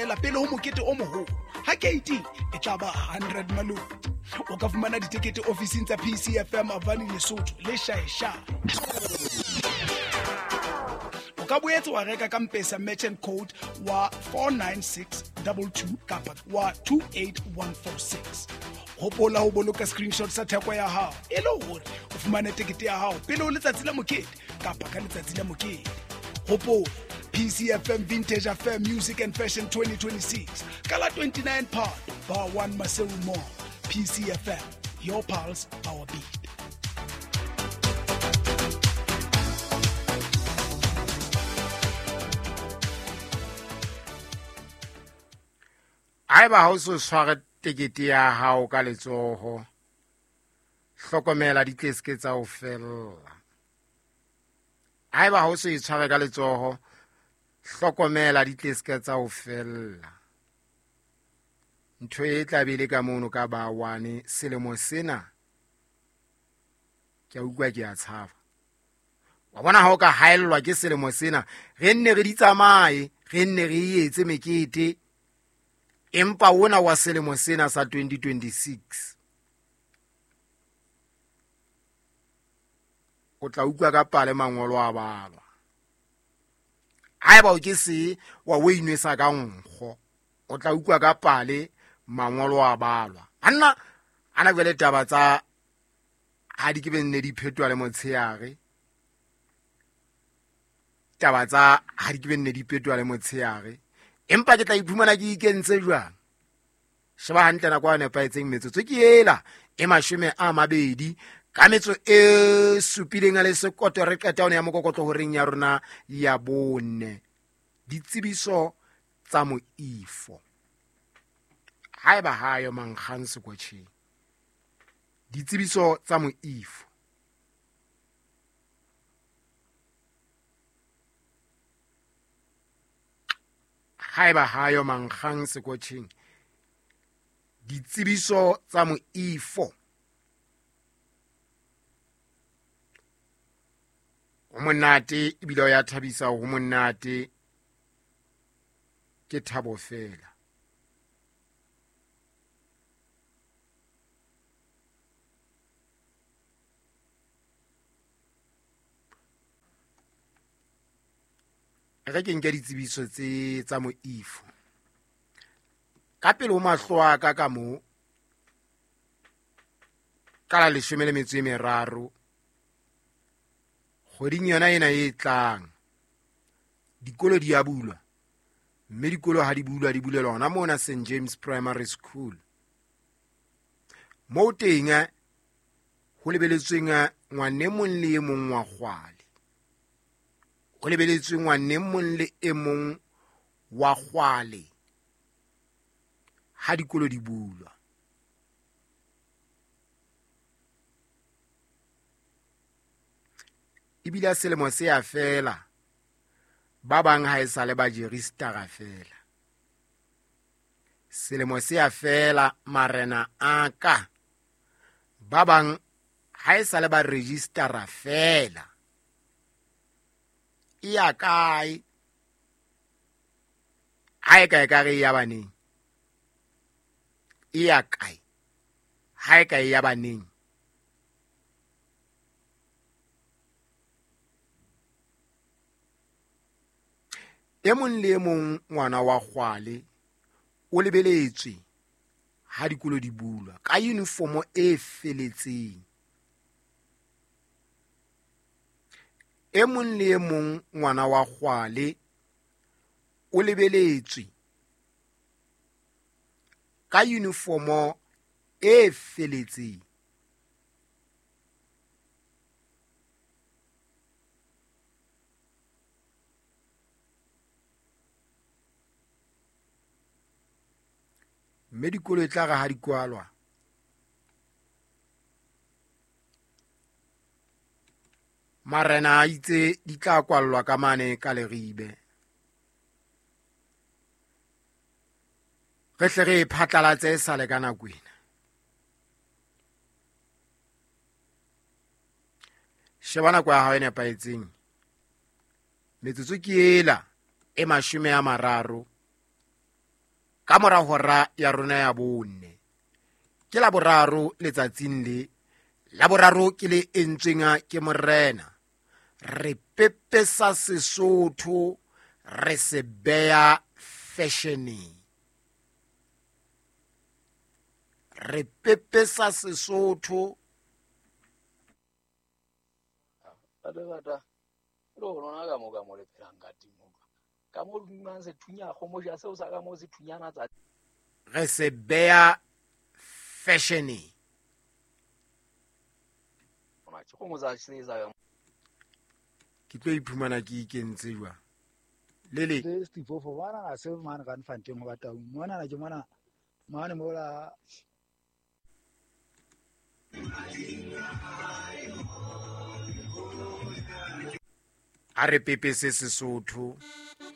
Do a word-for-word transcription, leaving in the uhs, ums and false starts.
feela pele ho mokete o moholo. Ha keiti e tla ba hundred maloti. O ka fumana ditekete ofising tsa P C F M Avani Lesotho le Shaesha. O ka boetse wa reka ka M-Pesa merchant code wa four nine six two two kapa wa two eight one four six. Hopola ho boloka screenshot sa theko ya hao e le hore o fumane tekete ya hao pele ho letsatsi la mokete kapa ka letsatsi la mokete. Hopola P C F M Vintage Affair Music and Fashion twenty twenty-six ka la twenty-nine Phato Bar one Maseru Mall. P C F M, your pulse, our beat. Haeba ha o so tshware tekete ya hao ka letsoho, hlokomela di tle se tsa o fella. Haeba ha o so e tshware ka letsoho, hlokomela di tle se tsa o fella. Ntho e tla be le ka mono ka ba one selemo sena, ke a utlwa ke a tshaba. Wa bona ha o ka haellwa ke selemo sena, re nne re di tsamaye, re nne re etse mekete. Empa wona wa selemo sena sa twenty twenty-six o tla utlwa ka pale mangolo a balwa. Haeba o ke se wa o inwesa ka nkgo, o tla utlwa ka pale mangolo a balwa. Anna ana jwale taba tsa ha di ke be nne di phetwa le motshehare. Taba tsa ha di ke be nne di phetwa le motshehare. Empa ke tla iphumana ke ikentse jwang? Sheba hantle nako e nepahetseng metsotso ke ela e mashome a mabedi ka metso e supileng a le sekoto re qeta hona ya mokokotlo horeng ya rona ya bone. Ditsebiso tsa moifo. Haeba hayo mankgang sekotjheng. Ditsebiso tsa moifo. Haeba hayo mankgang sekotjheng. Ditsebiso tsa moifo. Ho monate ebile o ya thabisa, ho monate ke thabo fela. Re ke nke ditsebiso tse tsa moifo. Ka pele ho mahlo a ka ka mo ka la leshome le metso e meraro kgweding yona ena e tlang, dikolo di a bulwa, mme dikolo ha di bulwa di bulelwa hona mona Saint James Primary School. Moo teng ho lebeletsweng ngwane mong le e mong wa kgwale. Ho lebeletswe ngwane mong le e mong wa kgwale ha dikolo di bulwa. Ebile selemo se a fela, ba bang ha e sale ba jeristara fela. Selemo se a fela marena a ka, ba bang ha e sale ba registera fela. E ya kae? Ha e kae ka re ya baneng? E ya kae? Ha e kae ya baneng? E mong le e mong ngwana wa kgwale o lebeletswe ha dikolo di bulwa ka uniformo e feletseng. E mong le e mong ngwana wa kgwale o lebeletswe ka uniformo e feletseng. Mme dikolo e tla re ha di kwalwa, marena a itse di tla kwallwa ka mane ka Leribe. Re hle re e phatlalatse e sale ka nako ena. Sheba nako ya hao e nepahetseng. Metsotso ke ela e mashome a mararo Ka mora hora ya rona ya bone. Ke la boraro letsatsing le. La boraro ke le entsweng ke morena. Re pepesa Sesotho, re se beya fashioneng. Re pepesa Sesotho. Re se beya fashioneng. Ke tlo iphumana ke ikentse jwang? Lele. A re pepese Sesotho.